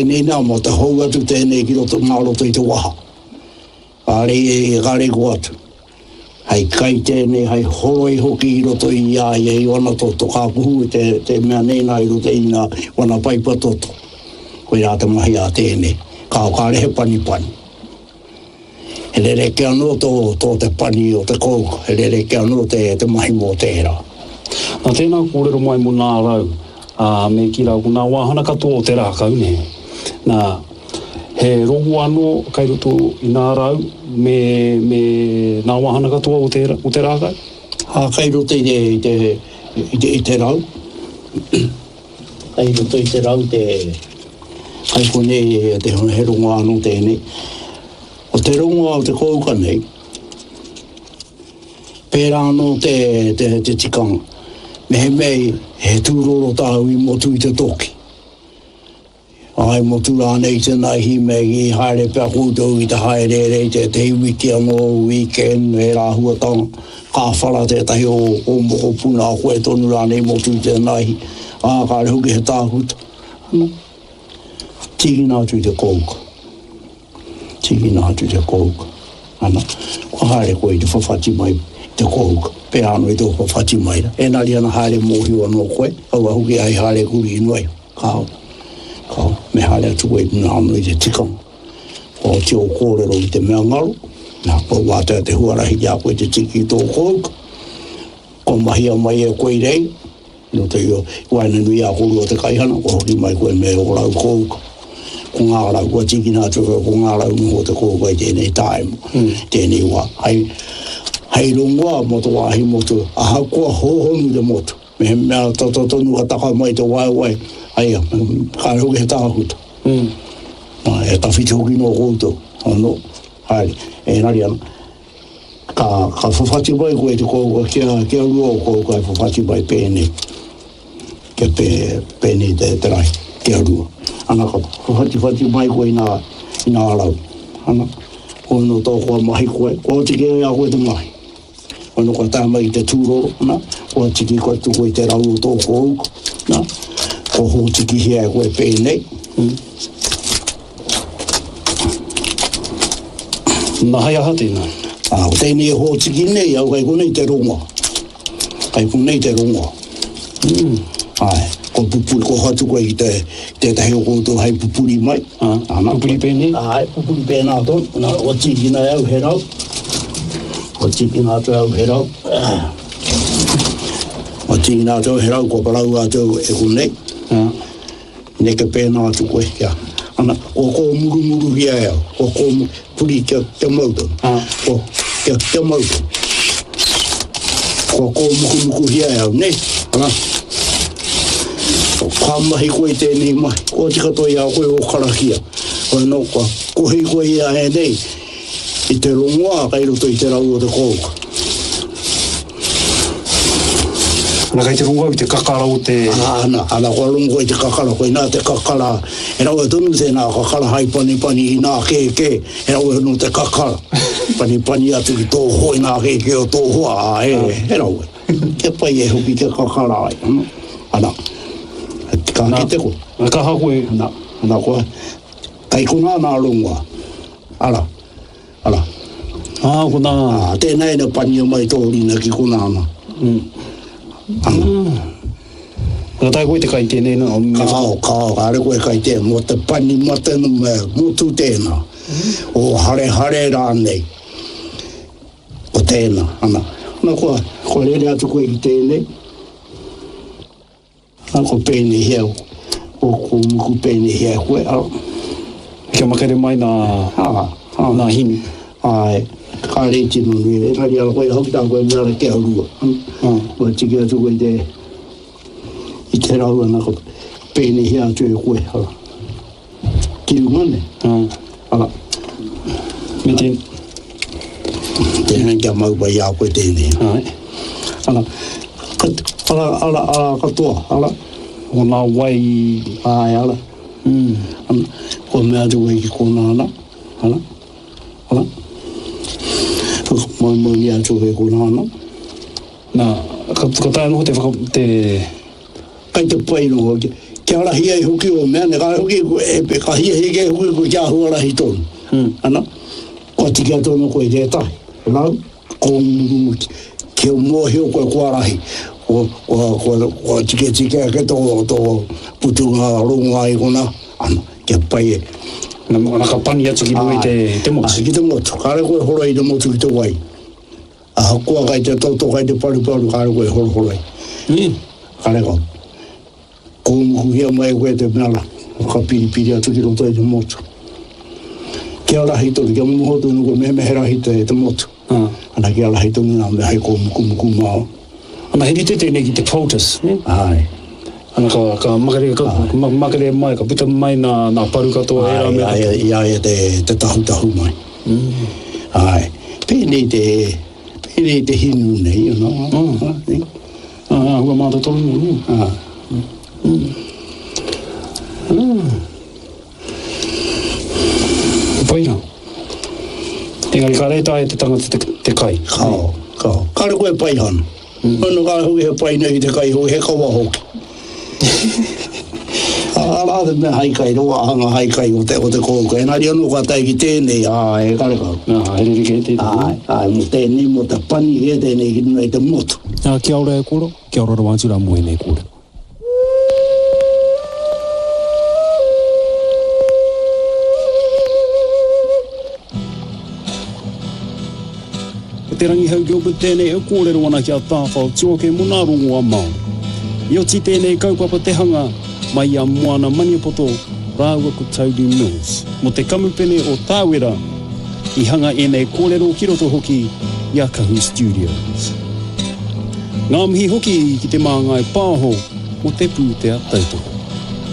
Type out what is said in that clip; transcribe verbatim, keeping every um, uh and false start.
Tēnei nā, mō te hou atu tēnei ki roto ngā roto i te waha. Kāre i kāre ko atu. Hei kai tēnei, hei horoi hoki i roto i a ia i wana toto. Ka kuhu te, te mea nei nā i roto i ngā wana paipa toto. Koirā te mahi a tēnei. Ka kāre he panipani. He rerekē anō tō, tō te pani o te kouka. He rerekē anō te, te mahi mō tērā. Nā tēnā kōrero mai mō nā rau, ā, me kī rā, ko nā wāhana katoa o te rākau, nē. Nā, he rongo anō kai roto i nā rau me, me nā wāhana katoa o te, o te rākau? Ā, kai roto i te, i te, i te, i te rau, kai roto i te rau te, kai konei te, he rongo anō tēnei. O te rongoa o te kouka nei, pērā anō te, te, te tikanga. Mehemea he tūroro tāu i motu i te toki. Ai motu rānei i te naihi me i haere pea koutou i te haereere i tētehi wiki anō, weekend, ērā āhuatanga, ka whara tētahi o, o mokopuna a koe tonu rānei motu i te naihi, ā, kāre hoki he tākuta. Ana, tīkina atu i te kouka. Tīkina atu i te kouka. Ana, kua haere koe i te whawhati mai i te kouka, pērā anō i tō whawhati mai rā. Engari ana haere mōhio anō koe, kaua hoki ai haere kurī noa iho. Kāo, kāo, me haere atu koe i runga anō i te tikanga. Kua oti ō kōrero i te mea ngaro, nā, kua wātea te huarahi ki a koe te tiki i tō kouka. Kua mahia mai e koe i reira, i roto i waenganui i a kōrua te kaihana, kua hoki mai koe me ō rau kouka. Ko ngā rau, kua tīkina atu koe, ko ngā rau noho o te kouka i tēnei tāima, tēnei wā. Hei, hei rongoā mō te wāhi motu, ahakoa hōhonu te motu. Mehemea tata tonu ka taka mai te waewae, aia, kāre hoki he tākuta. Mm. E tawhiti hoki nō koutou, anō, haere, engari ana, ka, ka whawhati mai koe i te kouka, kia, kia rua o kouka e whawhati mai pēnei, kia pē, pēnei te, te rahi, kia rua. Ana, ka whawhatiwhati mai koe i nā, i nā rau. Ana, koe nō tō koa mahi koe, kua oti kē i a koe te mahi. Kono kua tae mai i te tūroro, na, kua tiki koe tuku i te rau o tō kōuka, na, kua hōtikihia e koe pēnei. Mm. Na hei aha tēnā? Ā, ko tēnei e hōtiki nei au kai konei te rongoa. Kai konei te rongoa. Mm. Āe, kua pupuri, kua hoatu koe ki te, tētahi o koutou hei pupuri mai. Ā, ana, pupuri pēnei? Āe, pupuri pēnā tonu. Na, kua tīkina e au he rau. Kua tīkina atu e au he rau. Kua tīkina atu au he rau, kua parau atu au e konei. Ā. Neke pēnā atu koe, kia. Ana, kua kōmurumuruhia e au, kua kōmu, puri kia, kia mau tonu. Ā. Kua, kia, kia mau tonu. Kua kōmukumukuhia e au, nē? Ana. Ka mahi koe i tēnei mahi, kua oti katoa i a koe ō karakia. Hoi anō, kua kohi koe i a ēnei, i te rongoā kei roto i te rau o te kouka. Ana kei te rongo au i te kakara o te. Ana, ana, ana, kua rongo koe i te kakara, koinā te kakara, he rawe tonu tēnā kakara hai panipani i nā kēkē, he rawe anō te kakara, panipani atu ki tō hoa, i nā kēkē o tō hoa, ā, he, he rawe. Kia pai e hoki kia kakara ai, ana, ana, ka kite koe. Ana, ka aha koe? Ana, ana, kua, kei konā nā rongoā, ara. Ara. Ā, ko nā. Ā, tēnā ina pania mai tō rina ki konā ana. Mm. Ana. Ka taea koe te kai tēnei nā? Kāo, kāo, kāre koe kai tē, mō te pani mate no me motu tēnā. O harehare rānei. Ko tēnā, ana. Ana kua, kua rere atu koe ki tēnei. A ko pēnei ko, ko muku pēnei hea koe, a. Kia makere mai nā, a, a, nā hinu. Āe, kāre i tino nui, engari a koe hoki tā koe mea kia rua. Mm. Kua tiki atu koe i te, i te rau ana, ko pēnei hea atu e koe, ara. Ki runga nei. Mm. Ara. Me te... Tēnei kia mau pai i a koe tēnei. Āe. Ara, ara, ara, ara katoa, ara. O nā wai... Āe, ara. Mm. Ana, kua mea atu koe ki kōnā ana, ara, ara. Whakamaumaunia atu koe kōnā ana. Nā, ka, ka taea noho te whaka, te... Kai te pai noho, Kia rahi ai hoki o mea, ne kāre hoki, e, e, ka hiahia kē hoki koe kia āhua rahi tonu. Mm. Ana, kua tika tonu koe i tētahi. Rau, kōnguru, kia mōhio koe kua rahi. Kua, kua, kua, kua tiketike ake tō, tō putunga rongoā i konā. Ana, kia pai e. Na, na ka pani atu ki runga i te, te motu. Ai, ki te motu. Kāre koe horoi i te motu ki te wai. Ahakoa kai te toto, kai te paruparu, kāre koe horohoroi. Mm. Kāre kau. Kōmukuhia mai koe te mea rā, ka piripiri atu ki roto i te motu. Kia rahi tonu, kia moho tonu koe, mehemea he rahi te, te motu. Ah. Ana kia rahi tonu nā mea hei kōmukumuku māu. Ana he rite tēnei ki te poultice, ne? Ai. Ana ka, ka makere, ka, ma, makere mai, ka puta mai nā, nā paru katoa ērā Ai, mea ai, katoa. i a ia te, te tahutahu mai. Mm. Ai. Pēnei te, pēnei te hinu nei, you know. Mm. Ah, eh? Ah, hua mātotoru nei, ne? Ah. Mm. Mm. Pai rā. Engari ka reta e te tangata te, te kai. Kao, kao. Kāre koe pai hana. Mm. Ano kāre hoki he pai nei te kai hoki, he kawa hoki. Arā te mea hai kai, roa hanga hai kai o te, o te kōuka. Engari anō ka tae ki tēnei, ā, e karekau. Ā, he rerekē tēnei. Āe, āe, mō tēnei, mō te pani kē tēnei ki runga i te motu. Ā, kia ora e koro, kia ora rawa atu rā mō ēnei kōrero. Ko Te Rangihau Gilbert tēnei e kōrero ana ki a Tāwhao Tuoke mō nā rongoā Māori. I oti tēnei kaupapa te hanga mai i a Moana Maniapoto rāua ko Toby Mills. Mō te kamupene o Tāwera i hanga ēnei kōrero ki roto hoki i a Kahu Studios. Ngā mihi hoki ki te Māngai Pāho mō te pūtea tautoko.